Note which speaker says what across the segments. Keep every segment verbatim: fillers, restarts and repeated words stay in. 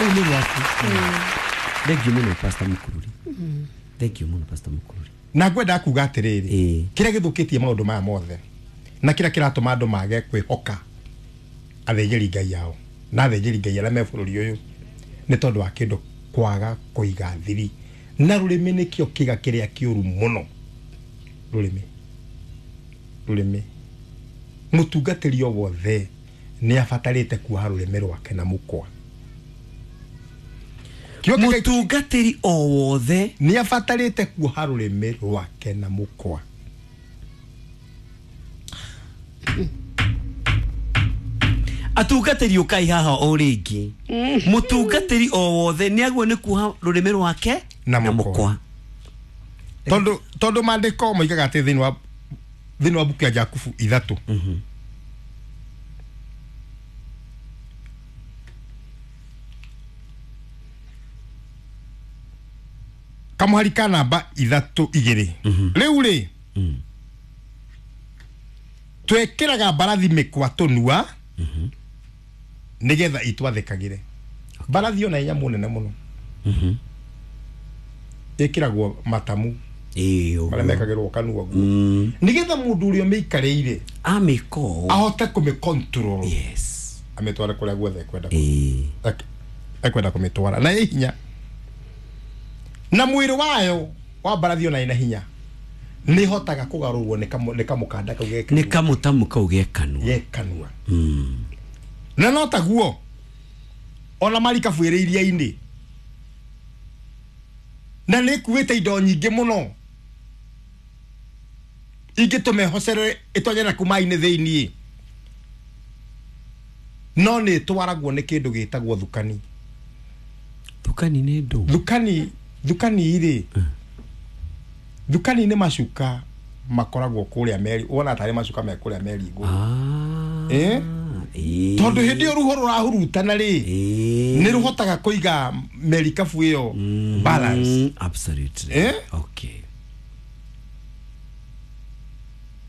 Speaker 1: Rũu nĩ rwaku. Thank you mũno Pastor Mukururi. Thank you mũno Pastor Mukururi.
Speaker 2: Na ngwenda kuga atĩrĩrĩ,
Speaker 1: Ĩĩ.
Speaker 2: kĩrĩa gĩthũkĩtie maũndũ maya mothe na kĩrĩa kĩratũma andũ mage kwĩhoka athĩnjĩri Ngai ao na athĩnjĩri Ngai arĩa me bũrũri ũyũ nĩ tondũ wa kĩndũ kwaga kũiga thiri. Na rũrĩmĩ nĩkĩo kĩga kĩrĩa kĩũru mũno. Rũrĩmĩ, rũrĩmĩ, mũtungatĩri o wothe nĩ abatarĩte kuoha rũrĩmĩ rwake na mũkwa. Kĩo kĩga-
Speaker 1: Mũtungatĩri o wothe
Speaker 2: nĩ abatarĩte kuoha rũrĩmĩ rwake na mũkwa.
Speaker 1: Atungatĩri ũkai haha o rĩngĩ. Mũtungatĩri o wothe nĩ agwo nĩ kuoha rũrĩmĩ rwake
Speaker 2: Na mũkwa. Tondũ tondũ maandĩko moigaga atĩ thĩinĩ wa thĩinĩ wa mbuku ya Jakubu ithatũ kamũhari ka namba ithatũ igĩrĩ rĩu rĩ twekĩraga mbarathi mĩkwa tũnua nĩgetha itwathĩkagĩre. Mbarathi ona ĩ nyamũ nene mũno ĩkĩragwo matamu
Speaker 1: Ĩĩ,
Speaker 2: marĩa
Speaker 1: ũguo.
Speaker 2: mekagĩrwo kanua guo
Speaker 1: Mm.
Speaker 2: nĩgetha mũndũ ũrĩa ũmĩikarĩire
Speaker 1: Amĩka ũũ.
Speaker 2: ahote kũmĩ control
Speaker 1: Yes.
Speaker 2: amĩtware kũrĩa guothe ekwenda
Speaker 1: Ĩĩ.
Speaker 2: ek- ekwenda kũmĩtwara na ĩ hinya na mwĩrĩ wayo wa mbarathi ona ĩna hinya nĩ ĩhotaga kũgarũrwo nĩ kamũ- nĩ kamũkanda kau
Speaker 1: Nĩ
Speaker 2: ge
Speaker 1: kamũtamu kau ge kanua.
Speaker 2: ge kanua.
Speaker 1: Mm.
Speaker 2: Na no taguo ona marikabu ĩrĩ iria-inĩ na nĩ ĩkuĩte indo nyingĩ mũno ingĩtũma ĩhocerere ĩtonye na kuma-inĩ thĩiniĩ, no nĩ ĩtwaragwo nĩ kĩndũ gĩtagwo thukani.
Speaker 1: Thukani nĩ ndũ.
Speaker 2: Thukani, thukani rĩ, thukani nĩ macuka makoragwo kũrĩa meri, wona tarĩ macuka me kũrĩa meri igũrũ.
Speaker 1: Ah.
Speaker 2: Ĩĩ.
Speaker 1: Ĩĩ.
Speaker 2: Tondũ hĩndĩ ĩyo ruho rũrahurutana rĩ,
Speaker 1: Ĩĩ.
Speaker 2: nĩ rũhotaga kũiga merikabu ĩyo
Speaker 1: Mhm.
Speaker 2: balance.
Speaker 1: Absolutely.
Speaker 2: Eh?
Speaker 1: Okay.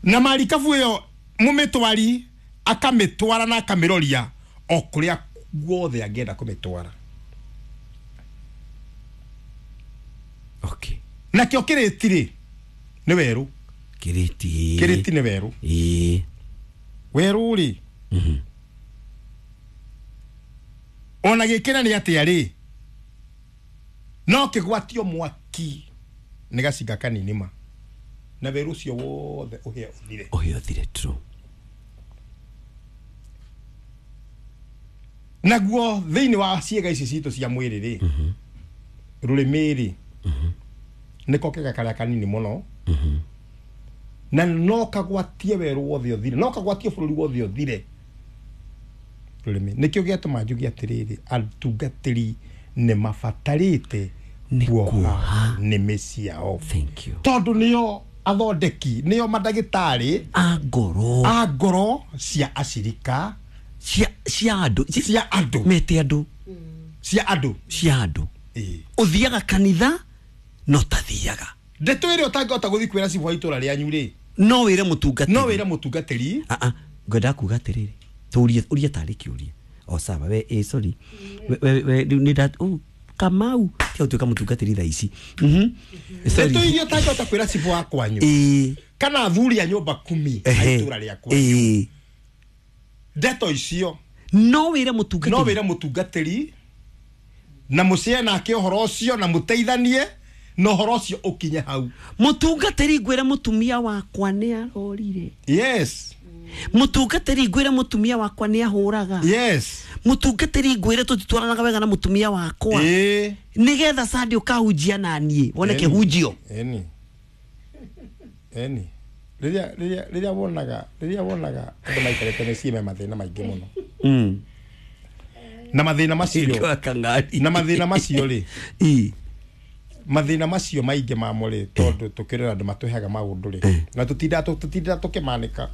Speaker 2: Na marikabu ĩyo mũmĩtwari akamĩtwara na akamĩroria o kũrĩa guothe angĩenda kũmĩtwara.
Speaker 1: Okay.
Speaker 2: Nakĩo kĩrĩti rĩ nĩ werũ.
Speaker 1: Kĩrĩti.
Speaker 2: Kĩrĩti nĩ werũ.
Speaker 1: Ĩĩ.
Speaker 2: Werũ rĩ,
Speaker 1: Mhm.
Speaker 2: ona gĩkĩra nĩ atĩa rĩ, no kĩgwatio mwaki nĩ gacinga kanini ma na werũ ũcio wothe ũhĩe ũthire.
Speaker 1: Ũhĩe ũthire, true.
Speaker 2: Naguo thĩinĩ wa ciĩga ici citũ cia mwĩrĩ rĩ, rũrĩmĩ rĩ nĩko kĩga karĩa kanini mũno na no kagwatie werũ wothe ũthire, no kagwatie bũrũri wothe ũthire. Rũrĩmĩ nĩkĩo gĩatũma njuge atĩrĩrĩ, atungatĩri nĩ mabatarĩte
Speaker 1: Nĩ
Speaker 2: kuoha
Speaker 1: kuoha.
Speaker 2: nĩmĩ ciao.
Speaker 1: Thank you.
Speaker 2: Tondũ nĩo athondeki, nĩo mandagĩtarĩ
Speaker 1: A ngoro.
Speaker 2: a ngoro cia acirika
Speaker 1: Cia cia andũ.
Speaker 2: cia andũ.
Speaker 1: Mete andũ.
Speaker 2: Cia andũ.
Speaker 1: Cia andũ.
Speaker 2: Ĩĩ.
Speaker 1: Ũthiaga kanitha no tathiaga.
Speaker 2: Ndeto ĩrĩa ũtangĩhota gũthiĩ kwĩra cibũ wa itũra rĩanyu rĩ,
Speaker 1: No wĩre mũtungatĩri.
Speaker 2: no wĩre mũtungatĩri.
Speaker 1: Ah ah, ngwenda kuga atĩrĩrĩ, tũrie ũrie tarĩ kĩũria. O sawa, we eh sorry. We we we rĩu nĩ nda oh Kamau tiga gũtuĩka mũtungatĩri thaa ici. Mhm. Sorry.
Speaker 2: Ndeto iria ũtangĩhota kwĩra cibũ wa kwanyu
Speaker 1: Ĩĩ.
Speaker 2: kana athuri a nyũmba kumi a
Speaker 1: Ehe.
Speaker 2: itũra rĩa kwanyu,
Speaker 1: Ĩĩ.
Speaker 2: ndeto icio
Speaker 1: No wĩre mũtungatĩri.
Speaker 2: no wĩre mũtungatĩri na mũcee nake ũhoro ũcio na mũteithanie na ũhoro ũcio ũkinye hau.
Speaker 1: Mũtungatĩri ngwĩre mũtumia wakwa nĩ arorire.
Speaker 2: Yes.
Speaker 1: Mũtungatĩri ngwĩre mũtumia wakwa nĩ ahũraga.
Speaker 2: Yes.
Speaker 1: Mũtungatĩri ngwĩre tũtitwaranaga wega na mũtumia wakwa.
Speaker 2: Ĩĩ.
Speaker 1: Nĩgetha Sunday ũkahunjia na niĩ wone
Speaker 2: Ĩni.
Speaker 1: kĩhunjio.
Speaker 2: Ĩni. Ĩni. Rĩrĩa rĩrĩa rĩrĩa wonaga rĩrĩa wonaga andũ maikarĩte mĩciĩ me mathĩna maingĩ mũno.
Speaker 1: Mm.
Speaker 2: Na mathĩna macio
Speaker 1: Kang'ari.
Speaker 2: na mathĩna macio rĩ,
Speaker 1: Ĩĩ.
Speaker 2: mathĩna macio maingĩ mamo rĩ, tondũ tũkĩrora andũ matũheaga maũndũ rĩ, na tũtindaga tũtindaga tũkĩmanĩka.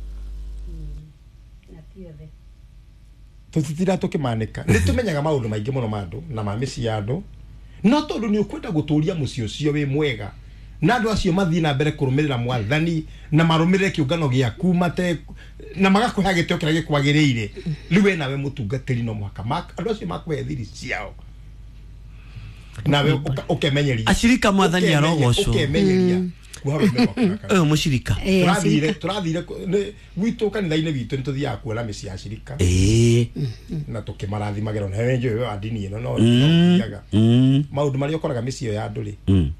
Speaker 2: Tũtitindaga tũkĩmanĩka. Nĩ tũmenyaga maũndũ maingĩ mũno ma andũ na ma mĩciĩ ya andũ, no tondũ nĩ ũkwenda gũtũria mũciĩ ũcio wĩ mwega na andũ acio mathiĩ na mbere kũrũmĩrĩra mwathani na marũmĩrĩre kĩũngano gĩaku mate na magakũhe gĩtĩo kĩrĩa gĩkwagĩrĩire, rĩu we nawe mũtungatĩri no mũhaka andũ acio makũhe thiri ciao Nawe ũkemenyeria.
Speaker 1: Acirika mwathani arogocwo.
Speaker 2: Ũkemenyeria. Kuoha rũrĩmĩ rwaku na kanua.
Speaker 1: Ũyũ mũcirika.
Speaker 3: Eh,
Speaker 2: Tũrathire
Speaker 3: acirika.
Speaker 2: tũrathire nĩ- gwitũ kanitha-inĩ witũ nĩ tũthiaga kuona mĩciĩ ya acirika
Speaker 1: Ĩĩ.
Speaker 2: na tũkĩmarathimagĩra ona we njũĩ wa ndini ĩno no no ũthiaga
Speaker 1: Mm.
Speaker 2: maũndũ marĩa ũkoraga mĩciĩ ĩyo ya andũ rĩ
Speaker 1: Mm.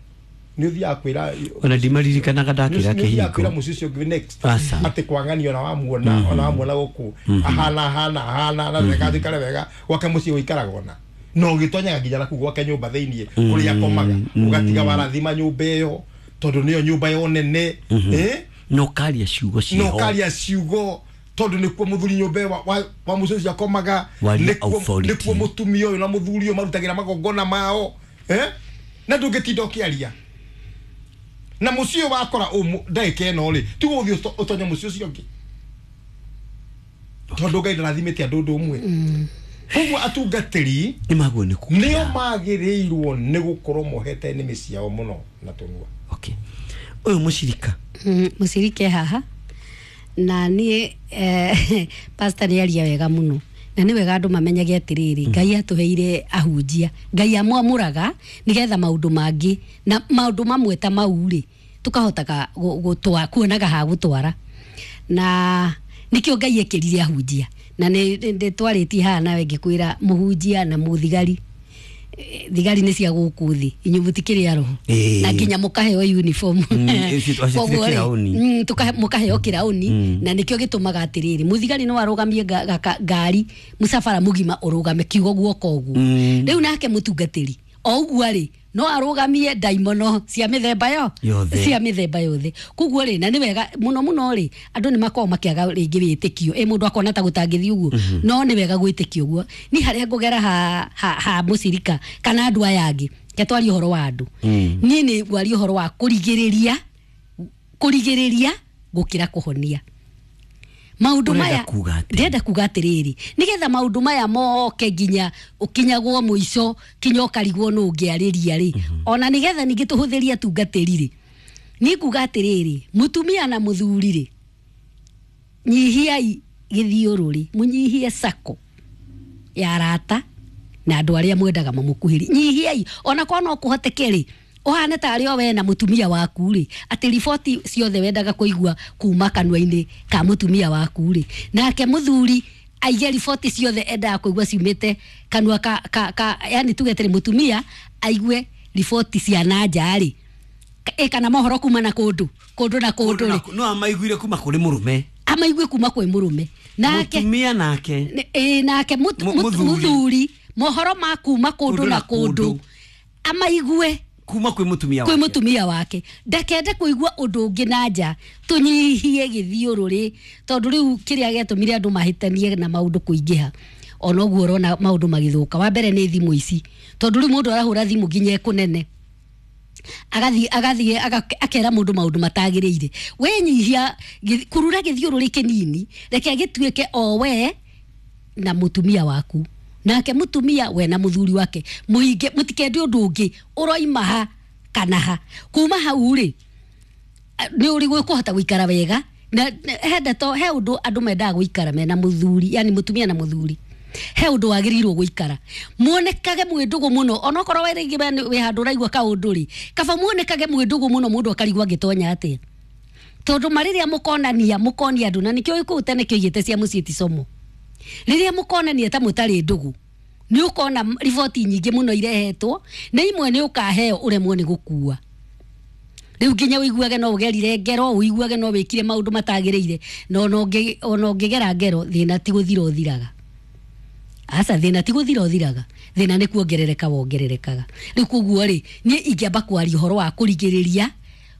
Speaker 2: nĩ ũthiaga kwĩra
Speaker 1: Ona ndimaririkanaga ndakĩra
Speaker 2: nĩ ũthiaga kwĩra
Speaker 1: kĩhingo.
Speaker 2: mũciĩ ũcio ũngĩ next
Speaker 1: Aca.
Speaker 2: atĩ kwang'ani ona wamuona ona wamuona gũkũ ahana ahana ahana na wega thikare wega gwake mũciĩ gũikaraga ona na ũgĩtonyaga nginya naku gwake nyũmba thĩiniĩ kũrĩa akomaga ũgatiga warathima nyũmba ĩyo tondũ nĩyo nyũmba yo nene eh
Speaker 1: Na ũkaria ciugo
Speaker 2: na
Speaker 1: ciĩho.
Speaker 2: ũkaria ciugo tondũ nĩkuo mũthuri nyũmba ĩyo wa, wa, wa mũciĩ ũcio akomaga
Speaker 1: Waria
Speaker 2: nĩkuo
Speaker 1: authority.
Speaker 2: nĩkuo mũtumia ũyũ na mũthuri ũyũ marutagĩra magongona mao eh na ndũngĩtinda ũkĩaria na mũciĩ ũyũ wakora ũmũ ndagĩka ĩno rĩ tiga ũthiĩ ũto- ũtonye mũciĩ ũcio ũngĩ tondũ Ngai ndarathimĩte andũ ũndũ ũmwe koguo atungatĩri
Speaker 1: Nĩ maguo nĩ kuga.
Speaker 2: nĩo magĩrĩirwo nĩ gũkorwo mohete nĩmĩ ciao mũno na tũnua.
Speaker 1: Okay. Ũyũ mũcirika.
Speaker 3: Mm, mũcirike haha na niĩ eh, pastor nĩ aria wega mũno na nĩ wega andũ mamenyage atĩrĩrĩ Ngai atũheire ahunjia Ngai amwamũraga nĩgetha maũndũ mangĩ na maũndũ mamwe ta mau rĩ tũkahotaga gũ- gũtwa- kuonaga ha gũtwara na nĩkĩo Ngai ekĩrire ahunjia na nĩ nĩ- nĩ twarĩtie haha nawe ngĩkwĩra mũhunjia na mũthigari. Eh, thigari nĩ cia gũkũ thĩ, inyuĩ mũtikĩrĩ a roho.
Speaker 1: Ĩĩ.
Speaker 3: Na nginya mũkaheo uniform.
Speaker 1: Mm, ici- acio
Speaker 3: Koguo rĩ,
Speaker 1: kĩraũni.
Speaker 3: mm, tukahe- mũkaheo kĩraũni na nĩkĩo gĩtũmaga atĩrĩrĩ mũthigari no arũgamie nga- gaka- ngari mũcabara mũgima ũrũgame kiugo guoko ũguo.
Speaker 1: Mm.
Speaker 3: Rĩu nake mũtungatĩri o ũguo rĩ no arũgamie ndaimono cia mĩthemba yo
Speaker 1: Yothe.
Speaker 3: cia mĩthemba yothe. Koguo rĩ na nĩ wega mũno mũno rĩ andũ nĩ makoragwo makĩaga rĩngĩ wĩtĩkio ĩ mũndũ akona ta gũtangĩthiĩ ũguo no nĩ wega gwĩtĩkio ũguo ni harĩa ngũgera ha, ha, ha mũcirika kana andũ aya angĩ ke twarie ũhoro wa andũ. Niĩ nĩ ngwaria ũhoro wa kũrigĩrĩria kũrigĩrĩria gũkĩra kũhonia maũndũ
Speaker 1: Ũrenda
Speaker 3: maya.
Speaker 1: kuga atĩa?
Speaker 3: Ndĩrenda kuga atĩrĩrĩ nĩgetha maũndũ maya moke nginya ũkinyagwo mũico kinya ũkarigwo nũ ũngĩarĩria rĩ ona nĩgetha ningĩ tũhũthĩrie atungatĩri rĩ niĩ kuga atĩrĩrĩ mũtumia na mũthuri rĩ nyihiai gĩthiũrũrĩ mũnyihie sako ya arata na andũ arĩa mwendaga mamũkuhĩri nyihiai ona korwo no kũhoteke rĩ ũhane tarĩ o we na mũtumia waku rĩ atĩ riboti ciothe wendaga kũigua kuma kanua-inĩ ka mũtumia waku rĩ nake mũthuri aige riboti ciothe endaga kũigua ciumĩte kanua ka, ka, ka yani tuge atĩrĩ mũtumia aigue riboti cia na nja rĩ ĩ kana mohoro kuma na kũndũ kũndũ na kũndũ rĩ
Speaker 1: No amaiguire kuma kũrĩ mũrũme.
Speaker 3: Amaigue kuma kwĩ mũrũme nake.
Speaker 1: Mũtumia nake.
Speaker 3: Nĩ- ĩ nake mut-
Speaker 1: Mu-
Speaker 3: mut-
Speaker 1: mũthuri.
Speaker 3: mũthuri mohoro ma kuma kũndũ na kũndũ amaigue
Speaker 1: Kuma kwĩ mũtumia
Speaker 3: kwĩ
Speaker 1: wake.
Speaker 3: Mũtumia wake ndakende kũigua ũndũ ũngĩ na nja tũnyihie gĩthiũrũrĩ tondũ rĩu kĩrĩa gĩatũmire andũ mahĩtanie na maũndũ kũingĩha ona ũguo ũrona maũndũ magĩthũka wa mbere nĩ thimũ ici tondũ rĩu mũndũ arahũra thimũ nginya ĩkũnene agathiĩ agathiĩ aga- akera mũndũ maũndũ matagĩrĩire wenyihia gĩ- kurura gĩthiũrũrĩ kĩnini reke gĩtuĩke o we na mũtumia waku nake mũtumia we na mũthuri wake mũhinge mũtikende ũndũ ũngĩ ũroima ha kana ha kuma hau rĩ nĩ ũrĩ kũhota gũikara wega na na- he ndeto he ũndũ andũ mendaga gũikara mena mũthuri yani mũtumia na mũthuri he ũndũ wagĩrĩirwo gũikara muonekage mwĩ ndũgũ mũno onokorwo we rĩngĩ we nĩ- wĩ handũ ũraigua kaũndũ rĩ kaba muonekage mwĩ ndũgũ mũno mũndũ akarigwo angĩtonya atĩa tondũ marĩrĩa mũkonania mũkonia andũ na nĩkĩo kũu tene kĩoigĩte cia mũciĩ ti somo rĩrĩa mũkonania ta mũtarĩ ndũgũ nĩ ũkona riboti nyingĩ mũno irehetwo na imwe nĩ ũkaheo ũremwo nĩ gũkua rĩu nginya ũiguage no ũgerire ngero ũiguage no wĩkire maũndũ matagĩrĩire na ona ũngĩ- ona ũngĩgera ngero thĩna ti gũthira ũthiraga aca thĩna ti gũthira ũthiraga thĩna nĩ kuongerereka wongererekaga rĩu koguo rĩ niĩ ingĩamba kwaria ũhoro wa kũrigĩrĩria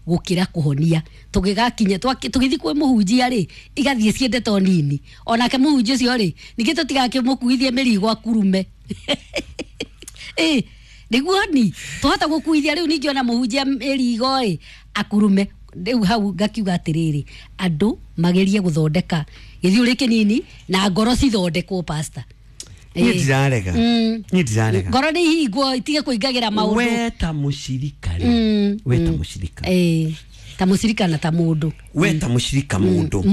Speaker 3: gũkĩra kũhonia tũgĩgakinya twaki- tũgĩthiĩ kwĩ mũhunjia rĩ igathiĩ ciendeto nini onake mũhunjia ũcio rĩ ningĩ tũtigakĩmũkuithie mĩrigo akurume ĩ nĩguo ni twahota gũkuithia rĩu ningĩ ona mũhunjia mĩrigo ĩ akurume rĩu hau ngakiuga atĩrĩrĩ andũ magerie gũthondeka gĩthiũrĩ kĩnini na ngoro cithondekwo pastor.
Speaker 1: Niĩ
Speaker 3: Ĩ.
Speaker 1: ndirarega.
Speaker 3: Mm.
Speaker 1: Niĩ ndirarega.
Speaker 3: Ngoro nĩ ihingwo itige kũingagĩra maũndũ.
Speaker 1: We ta mũcirika rĩ
Speaker 3: Mm,
Speaker 1: we ta
Speaker 3: mm.
Speaker 1: mũcirika
Speaker 3: Ĩ. Ta mucirika na ta mundu.
Speaker 1: We ta mucirika mundu.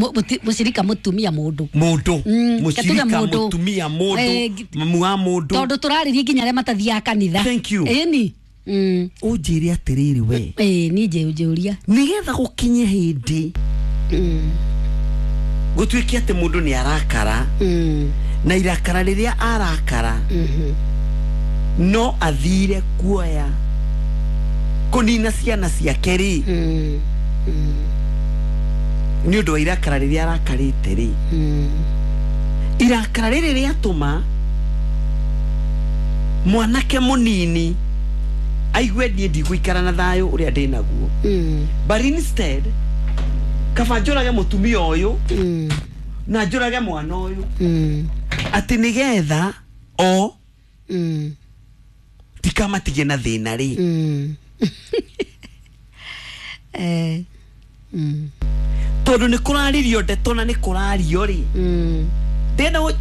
Speaker 3: Mucirika mutumia mundu.
Speaker 1: Mundu. Mucirika mutumia mundu. Mamu wa mundu.
Speaker 3: Tondu turaririe nginya aria matathiaga kanitha.
Speaker 1: Thank you.
Speaker 3: Ĩni. Mm.
Speaker 1: Unjire atiriri we.
Speaker 3: Eh, ni je unjũria.
Speaker 1: Nigetha gukinye hindi.
Speaker 3: Mm.
Speaker 1: Gutuike ati mundu ni arakara.
Speaker 3: Mm.
Speaker 1: Na irakara riria arakara.
Speaker 3: Mhm.
Speaker 1: No athire kuoya kunina ciana ciake ri.
Speaker 3: Mm. Mm.
Speaker 1: Ni undu wa irakara riria arakarite ri.
Speaker 3: Mm.
Speaker 1: Irakara riri riatuma mwanake munini aigue nie ndigũikara na thayo uria ndi naguo.
Speaker 3: Mm.
Speaker 1: But instead kaba njũrage mutumia uyu
Speaker 3: mm.
Speaker 1: na njũrage mwana uyu
Speaker 3: mm.
Speaker 1: ati nigetha o
Speaker 3: mm.
Speaker 1: tikamatige na thina ri.
Speaker 3: Mm. Eh. Mm.
Speaker 1: Tondu ni kuraririo ndeto na ni kurario ri.
Speaker 3: Mm.
Speaker 1: Ndina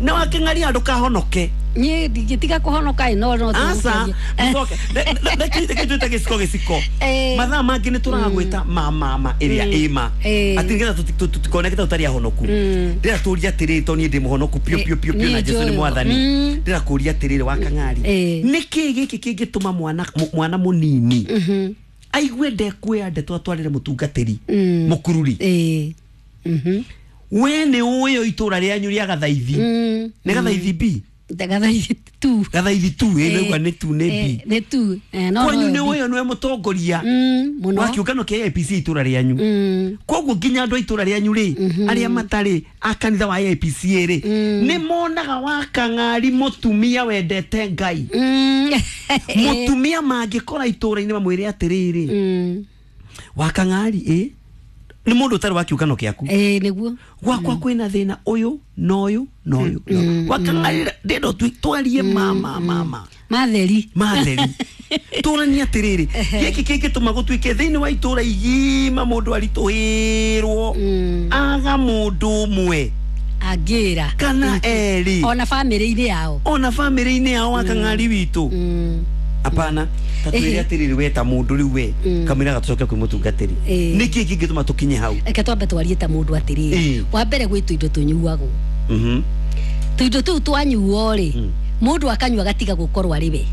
Speaker 1: na waking'aria ndukahonoke.
Speaker 3: Ni ndingĩtiga kũhonoka ĩ no no
Speaker 1: asa mucoke ndekite twita gĩciko gĩciko mathaa mangĩ nĩ tũragwĩta ma mama ĩrĩa ĩma atĩ nĩgetha tũtikoneke ta tũtarĩ ahonoku. Ndĩra tũria atĩrĩrĩ to niĩ ndĩ mũhonoku piũ piũ piũ piũ na Jesũ nĩ mwathani. Ndĩra kũria atĩrĩrĩ wakang'ari nĩkĩ gĩkĩ kĩngĩtũma mwana mwana mũnini aigue ndekuoya ndeto atwarĩre mũtungatĩri mũkururi? We nĩ ũĩ itũra rĩanyu rĩa Gathaithi nĩ Gathaithi B
Speaker 3: Gathaithi tu
Speaker 1: Gathaithi tu ĩ nĩgua nĩ tu nĩ B
Speaker 3: nĩ tu no
Speaker 1: kwanyu nĩ ũĩ nĩwe mũtongoria wa kĩũngano kĩa A P C itũra rĩanyu. Koguo nginya andũ a itũra rĩanyu rĩ arĩa matarĩ a kanitha wa A P C rĩ nĩ monaga wakang'ari mũtumia wendete Ngai. Mũtumia mangĩkora itũra-inĩ mamwĩre atĩrĩrĩ wakang'ari ĩ nĩ mũndũ ũtarĩ wa kĩũngano kĩaku.
Speaker 3: Ĩ nĩguo
Speaker 1: gwakwa kwĩna thĩna ũyũ na ũyũ na ũyũ wakang'ari ndĩndo twarie mama mama
Speaker 3: matheri
Speaker 1: matheri tũranie atĩrĩrĩ gĩkĩ kĩngĩtũma gũtuĩke thĩinĩ wa itũra igima mũndũ aritũhĩrwo aga mũndũ ũmwe
Speaker 3: angĩra
Speaker 1: kana erĩ
Speaker 3: ona bamĩrĩ-inĩ yao
Speaker 1: ona bamĩrĩ-inĩ yao wakang'ari witũ. Apana tatwire atiriri we ta mundu riu we kamira gatucoke kwi mutungatiri niki kingituma tukinye hau?
Speaker 3: Reke twambe twarie ta mundu atiriri wa mbere gwi tuindo tunyuagwo.
Speaker 1: Mhm.
Speaker 3: Tuindo tu twanyuo ri mundu akanyua gatiga gukorwo ari we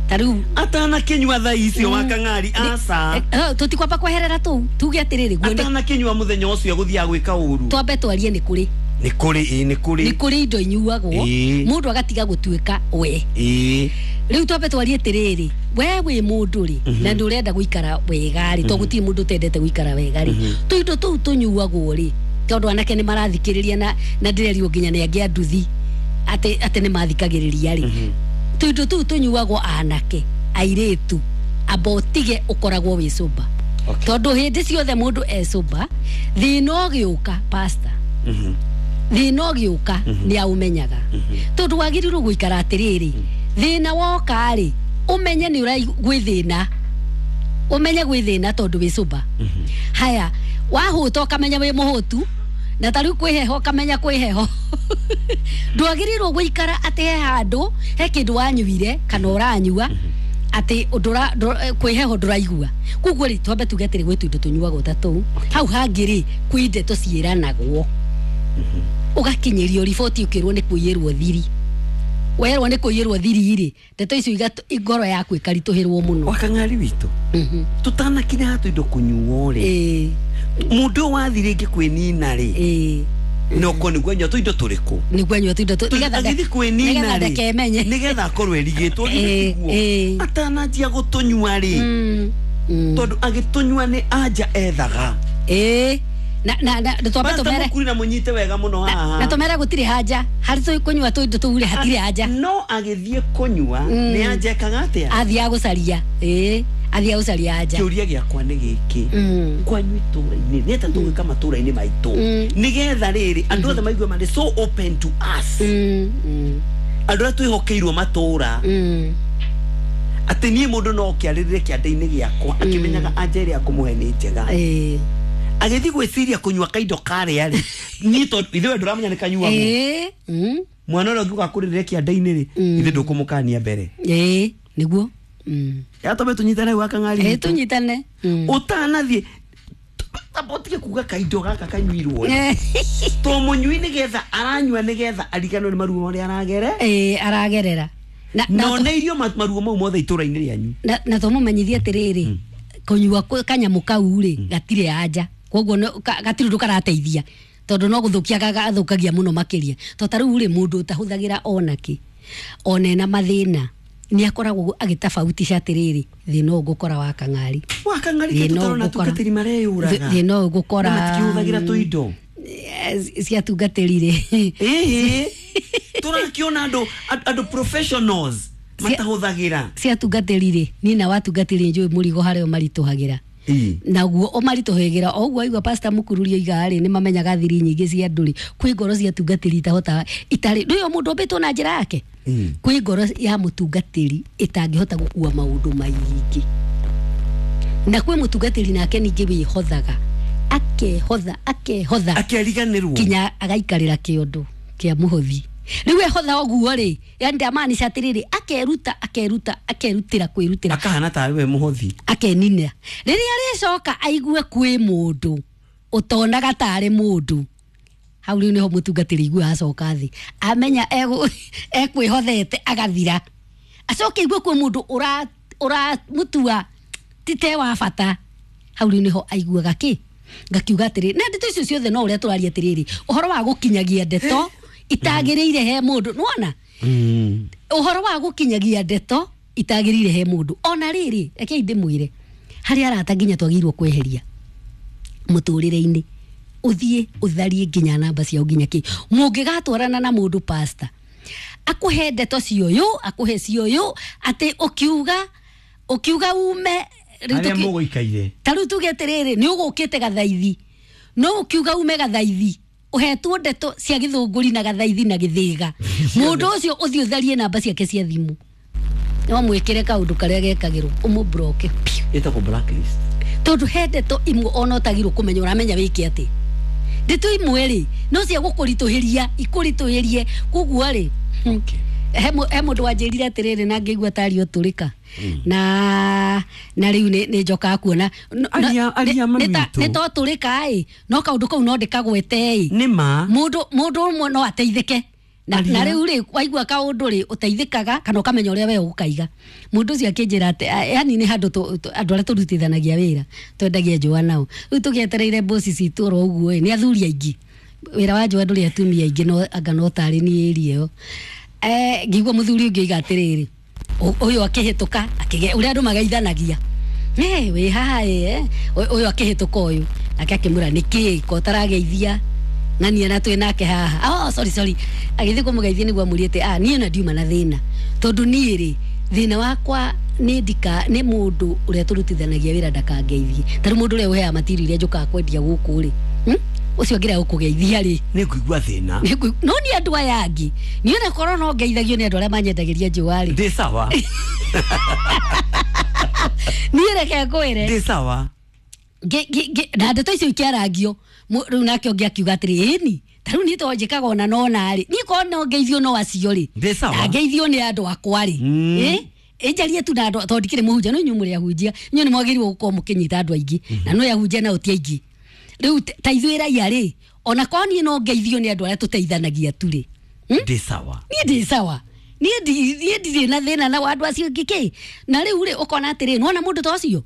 Speaker 3: ta riu
Speaker 1: atana kinyua thaa icio wakang'ari aca
Speaker 3: tutikwamba kweherera tu tuge atiriri guo
Speaker 1: atana kinyua muthenya ucio guthia gwika uru
Speaker 3: twambe twarie ni kuri
Speaker 1: ni kuri ĩ ni kuri
Speaker 3: ni kuri indo inyuagwo mundu agatiga gutuika we
Speaker 1: ĩ
Speaker 3: riu twambe twarie atiriri we wi mundu ri na ndurenda guikara wega ri to gutiri mundu utendete guikara wega ri tuindo tuu tunyuagwo ri tondu anake ni marathikiriria na na ndirerio nginya ni angi anduthi ati ati ni mathikagiriria ri tuindo tuu tunyuagwo anake airitu amba utige ukoragwo wi sober tondu hindi ciothe mundu e sober thina ugiuka pastor thina ugiuka ni aumenyaga tondu wagirirwo guikara atiriri thina woka ri umenye ni urai gwi thina umenye gwi thina tondu wi sober. Haya wahuta ukamenya wi muhutu na tariu kwi heho ukamenya kwi heho ndwagirirwo guikara ati he handu he kindu wanyuire kana uranyua ati ndura kwi heho nduraigua koguo ri twambe tuge atiri gwi tuindo tunyuagwo ta tuu hau hangi ri kwi ndeto ciiranagwo ugakinyirio riboti ukirwo ni kuiyirwo thiri werwo ni kuiyirwo thiri ri ndeto icio ngoro yaku ikaritũhĩrwo mũno.
Speaker 1: Wakang'ari witũ tutanakinya hatu indo kũnyuo rĩ mundu wathire rĩngĩ kwĩnina rĩ no ko nĩguo anyua tũindo tũrĩkũ
Speaker 3: nĩguo anyua tũindo
Speaker 1: agĩthiĩ kwĩnina rĩ nĩgetha akorwo erigĩtwo githĩ atananjia gũtũnyua rĩ tondũ agĩtũnyua nĩ anja ethaga
Speaker 3: ĩĩ na na na twambe tumere
Speaker 1: kuri na munyite wega muno haha
Speaker 3: na tumere gutiri haja hari tu kunyua tu indo tu hatiri haja
Speaker 1: no agithie kunyua ni anja ekaga atia
Speaker 3: athia gucaria eh athia gucaria haja
Speaker 1: kiuria giakwa ni giki kwanyu itura-ini ni ata tugwika matura-ini maitu nigetha riri andu othe maigue mari so open to us andu aria twihokeirwo matura ati nie mundu no kiarire kianda-ini giakwa akimenyaga anja iria akumuhe ni njega
Speaker 3: eh
Speaker 1: agithi gwiciria kunyua kaindo karia ri ni to ithuĩ nduramenya ni kanyuagwo
Speaker 3: eh
Speaker 1: mwana ũrĩa ũngĩũka kũrĩrĩra kĩanda-inĩ rĩ ithuĩ ndũkũmũkania mbere
Speaker 3: eh nĩguo mm
Speaker 1: yatome tunyitane gwa kang'ari
Speaker 3: eh tunyitane
Speaker 1: ũtanathiĩ Amba ũtige kuga kaindo gaka kanyuirwo to mũnyui nĩgetha aranyua nĩgetha ariganwo nĩ maruo marĩa aragere
Speaker 3: eh aragerera na
Speaker 1: na oneirio maruo mau mothe itũra-inĩ rĩanyu
Speaker 3: na na tũmũmenyithie atĩrĩrĩ kũnyua kanyamũ kau rĩ gatirĩ anja koguo gatirĩ ũndũ karateithia tondũ no gũthũkia gathũkagia mũno makĩria to ta rĩu rĩ mũndũ ũtahũthagĩra onakĩ ona ena mathĩna nĩ akoragwo agĩtabautisha atĩrĩrĩ thĩna ũyũ ngũkora wa kang'ari
Speaker 1: wa kang'ari tũtarona tungatĩri mareyũraga
Speaker 3: thĩna ũyũ ngũkora
Speaker 1: matikĩhũthagĩra tũindo
Speaker 3: cia tungatĩri rĩ
Speaker 1: ĩĩ tũrakĩona andũ andũ professionals matahũthagĩra
Speaker 3: cia tungatĩri rĩ niĩ na watungatĩri njũĩ mũrigo harĩa ũmaritũhagĩra naguo ũmaritũhagĩra o ũguo aigua pastor Mũkururia oiga rĩ nĩ mamenyaga thiri nyingĩ cia andũ rĩ kwĩ ngoro cia tungatĩri itahotaga itarĩ ndũĩ o mũndũ ũmbĩtwo na njĩra yake kwĩ ngoro ya mũtungatĩri ĩtangĩhota gũkua maũndũ maingĩ na kwĩ mũtungatĩri nake ningĩ wĩhothaga akehotha akehotha
Speaker 1: akeriganĩrwo
Speaker 3: kinya agaikarĩra kĩondo kĩa mũhothi rĩu ehotha ũguo rĩ yani ndamaanisha atĩrĩrĩ akeruta akeruta akerutĩra kwĩrutĩra
Speaker 1: akahana tarĩ we mũhothi
Speaker 3: akenina rĩrĩa arĩcoka aigue kwĩ mũndũ ũtonaga tarĩ mũndũ hau rĩu nĩho mũtungatĩri igue acoka thĩ amenya ekwĩhothete agathira acoke aigue kwĩ mũndũ ũramũtua ti te wa bata hau rĩu nĩho aiguaga kĩ ngakiuga atĩrĩrĩ na ndeto icio ciothe no ũrĩa tũraria atĩrĩrĩ ũhoro wa gũkinyagia ndeto itagĩrĩire he mũndũ nĩwona ũhoro wa gũkinyagia ndeto itagĩrĩire he mũndũ ona rĩrĩ rekei ndĩmwĩre harĩ arata nginya twagĩrĩirwo kweheria mũtũrĩre-inĩ ũthiĩ ũtharie nginya namba ciao nginya kĩ mũngĩgatwarana na mũndũ pastor akũhe ndeto cioyũ akũhe cioyũ atĩ ũkiuga ũkiuga ume
Speaker 1: arĩa mũgũikaire
Speaker 3: ta rĩu tuge atĩrĩrĩ nĩ ũgũkĩte gathaithi no ũkiuga ume gathaithi uhetwo ndeto cia gĩthũngũri na gathaithi na gĩthĩga mũndũ ũcio ũthiĩ ũtharie namba ciake cia thimũ no mwĩkĩre kaũndũ karĩa gekagĩrwo ũmũbroke
Speaker 1: ĩtagwo blacklist
Speaker 3: tondũ he ndeto imwe ona ũtagirwo kũmenya ũramenya wĩke atĩ ndeto imwe rĩ no cia gũkũritũhĩria ikũritũhĩrie koguo rĩ he mũndũ wanjĩrire atĩrĩrĩ na ngĩigua tarĩ ũtũrĩka na na rĩu nĩ njokaga kuona nĩ to tũrĩka ĩ no kaũndũ kau no ndĩkagwete ĩ
Speaker 1: nĩ ma
Speaker 3: mũndũ mũndũ ũmwe no ateithĩke na na rĩu rĩ waigua kaũndũ rĩ ũteithĩkaga kana ũkamenya ũrĩa we ũgũkaiga mũndũ ũcio akĩnjĩra atĩ yani nĩ handũ andũ arĩa tũrutithanagia wĩra twendagia njũa nao rĩu tũgĩetereire mboci citũ oro ũguo ĩ nĩ athuri aingĩ wĩra wa njũa ndũrĩ atumia aingĩ no anga no tarĩ niĩ ĩria ĩyo eh ngigua muthuri ũngĩ oiga atĩrĩrĩ ũyũ akĩhĩtũka akĩge ũrĩa andũ mageithanagia eh wĩ haha eh ũyũ akĩhĩtũka ũyũ nake akĩmwĩra nĩkĩ ko ũtarageithia ng'ania na twĩ nake haha oh sorry sorry agĩthiĩ kũmũgeithia nĩguo amũrie ah niĩ na ndiuma na thĩna tondũ niĩ rĩ thĩna wakwa nĩ ndika nĩ mũndũ ũrĩa tũrutithanagia wĩra ndakangeithie ta rĩu mũndũ ũrĩa ũheaga matiri iria njũkaga kwendia gũkũ rĩ ũcio ngĩrega gũkũgeithia rĩ
Speaker 1: nĩ ngũigua thĩna
Speaker 3: no nĩ andũ aya angĩ niĩ ona korwo no ngeithagio nĩ andũ arĩa manyendagĩria njũa rĩ
Speaker 1: ndĩ sawa
Speaker 3: niĩ reke ngwĩre
Speaker 1: ndĩ sawa
Speaker 3: na ndeto icio ikĩarangio rĩu nake ũngĩ akiuga atĩrĩ ĩni ta rĩu niĩ to njĩkaga ona nona rĩ niĩ korwo no ngeithio no acio rĩ na ngeithio nĩ andũ akwa rĩ ĩ ĩnjarie tu na andũ tondũ ndikĩrĩ mũhunjia no inyuĩ mũrĩ ahunjia inyuĩ nĩ mwagĩrĩirwo gũkorwo mũkĩnyita andũ aingĩ na no ahunjia nao ti aingĩ rĩu ta ithuĩ raia rĩ ona korwo niĩ no ngeithio nĩ andũ arĩa tũteithanagia tu rĩ
Speaker 1: ndĩ sawa
Speaker 3: niĩ ndĩ sawa niĩ ndirĩ na thĩna na andũ acio angĩ kĩ na rĩu rĩ ũkona atĩrĩ nĩwona mũndũ ta ũcio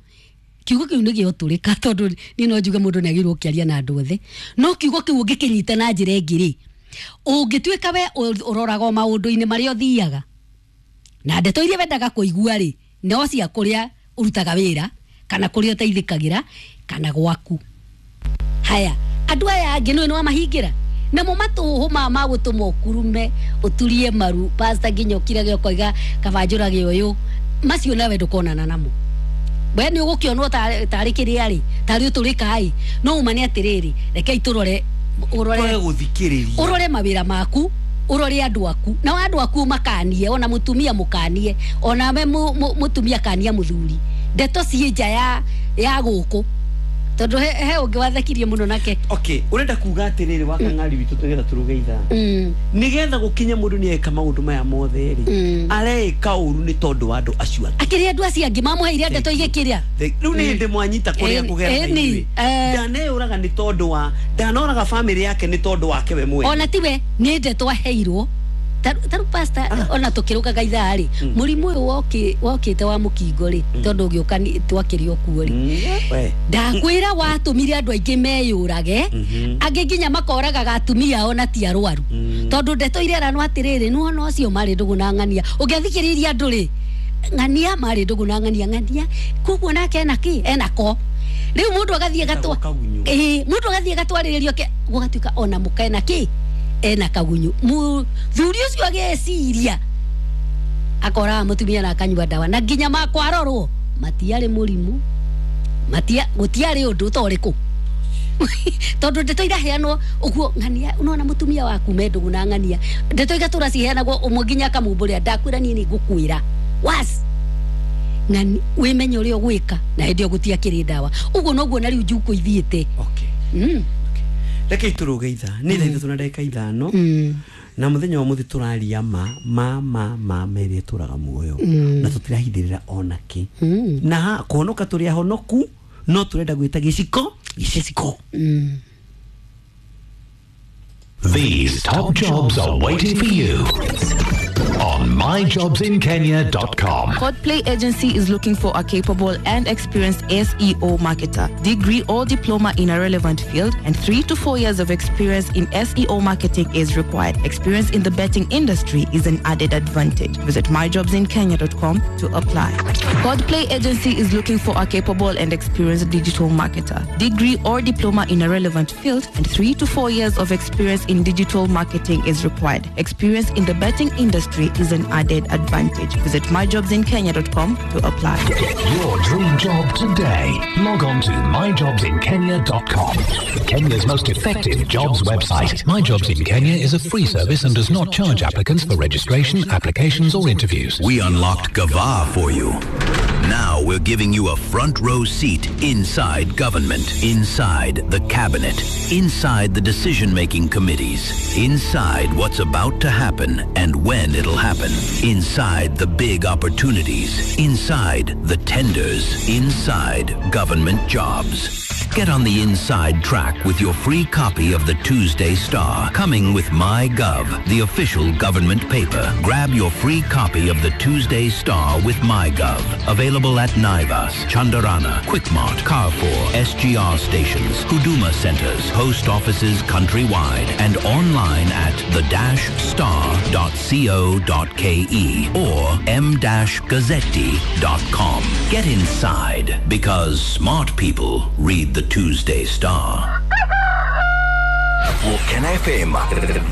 Speaker 3: kiugo kĩu nĩ gĩotũrĩka tondũ niĩ no njuge mũndũ nĩ agĩrĩirwo gũkĩaria na andũ othe no kiugo kĩu ũngĩkĩnyita na njĩra ĩngĩ rĩ ũngĩtuĩka we ũroraga o maũndũ-inĩ marĩa ũthiaga na ndeto iria wendaga kũigua rĩ no cia kũrĩa ũrutaga wĩra kana kũrĩa ũteithĩkagĩra kana gwaku haya andũ aya angĩ nĩ wamahingĩra namo matũhũ ma magũtũma ũkurume ũturie maru pastor nginya ũkirage ũkoiga kaba njũrage ũyũ macio nawe ndũkonana namo we nĩ ũgũkĩonwo tarĩ kĩrĩa rĩ tarĩ ũtũrĩka ĩ no uma nĩ atĩrĩrĩ rekei tũrore ũrore
Speaker 1: gũthikĩrĩria
Speaker 3: ũrore mawĩra maku ũrore andũ aku na andũ aku makanie ona mũtumia mũkanie ona we mũtumia kania mũthuri ndeto ciĩ nja ya ya gũkũ Tondu he he ũngĩ wathekirie mũno nake.
Speaker 1: Okay, urenda kuga atiriri wa kang'ari witũ tũgetha tũruge ithaa.
Speaker 3: Mm.
Speaker 1: Nigetha gũkinye mũndũ nĩ eka maũndũ maya mothe rĩ,
Speaker 3: Mm.
Speaker 1: areka ũru nĩ tondũ wa andũ acio angĩ.
Speaker 3: Akĩrĩ andũ acio angĩ mamũheire ndeto igĩkĩrĩa.
Speaker 1: Rĩu nĩ hĩndĩ mwanyita kũrĩa
Speaker 3: Ĩni,
Speaker 1: kũgera
Speaker 3: ĩni,
Speaker 1: ithuĩ.
Speaker 3: eh.
Speaker 1: Ndaneyũraga nĩ tondũ wa ndanoraga bamĩrĩ yake nĩ tondũ wake we mwene.
Speaker 3: Ona tiwe nĩ ndeto aheirwo. Taru pastor ona tukirugaga ithaa rĩ, mũrimũ ũyũ woki wokĩte wa mũkingo rĩ, tondũ ũgĩũka nĩ- twakĩrĩ o kuo rĩ.
Speaker 1: Mm, we.
Speaker 3: Ndakwĩra watũmire andũ aingĩ meyũrage, angĩ nginya makoragaga atumia ao na ti arwaru. Tondũ ndeto ireranwo atĩrĩrĩ, nĩwona ũcio marĩ ndũgũ na ng'ania. Ũngĩathikĩrĩria andũ rĩ, ng'ania marĩ ndũgũ na ng'ania, ng'ania koguo nake ena kĩ? Ena ko. Rĩu mũndũ agathiĩ agatwa
Speaker 1: Etagwo kagunyũ.
Speaker 3: Ĩĩ, mũndũ agathiĩ agatwarĩrĩrio ke gũgatuĩka ona mũka ena kĩ? Ena kagunyu. Mũthuri ũcio ageciria akoraga mũtumia na akanyua ndawa, na nginya makwarorwo matiarĩ mũrimũ, matia gũtiarĩ ũndũ ta ũrĩkũ. Tondũ ndeto iraheanwo ũguo ng'ania, unaona mũtumia waku me ndũgũ na ng'ania, ndeto igatũra ciheanagwo ũmwe nginya akamumbũrĩra, ndakwĩra niĩ nĩ ngũkwĩra was ng'ani wĩmenye ũrĩa ũgwĩka, na hĩndĩ ĩyo gũtiakĩrĩ ndawa. Ũguo noguo na rĩu njukũ ithiĩte.
Speaker 1: Okay.
Speaker 3: Mm.
Speaker 1: Reke itũrũge ithaa nĩ thaa ithatũ na ndagĩka ithano,
Speaker 3: Mm.
Speaker 1: na mũthenya wa mũthĩ tũraria ma ma ma ma ma ĩrĩa ĩtũraga muoyo, na tũtirahithĩrĩra ona kĩ,
Speaker 3: Mm.
Speaker 1: na ha- kũhonoka tũrĩ ahonoku, no tũrenda gwĩta gĩciko gĩciko.
Speaker 3: Mm.
Speaker 4: These top jobs are waiting for you on my jobs in kenya dot com.
Speaker 5: Codplay Agency is looking for a capable and experienced S E O marketer, degree or diploma in a relevant field, and three to four years of experience in S E O marketing is required. Experience in the betting industry is an added advantage. Visit my jobs in kenya dot com to apply. Codplay Agency is looking for a capable and experienced digital marketer, degree or diploma in a relevant field, and three to four years of experience in digital marketing is required. Experience in the betting industry is an added advantage. Visit my jobs in kenya dot com to apply.
Speaker 4: Get your dream job today. Log on to my jobs in kenya dot com. Kenya's most effective jobs website. My Jobs in Kenya is a free service and does not charge applicants for registration, applications or interviews.
Speaker 6: We unlocked Gava for you. Now we're giving you a front row seat inside government, inside the cabinet, inside the decision-making committees, inside what's about to happen and when it'll happen, inside the big opportunities, inside the tenders, inside government jobs. Get on the inside track with your free copy of the Tuesday Star, coming with MyGov, the official government paper. Grab your free copy of the Tuesday Star with MyGov. Available at Naivas, Chandarana, Quickmart, Carrefour, S G R stations, Huduma centers, post offices countrywide, and online at the dash star dot co dot K E or m dash gazzetti dot com. Get inside, because smart people read the Tuesday Star.
Speaker 7: Woken F M.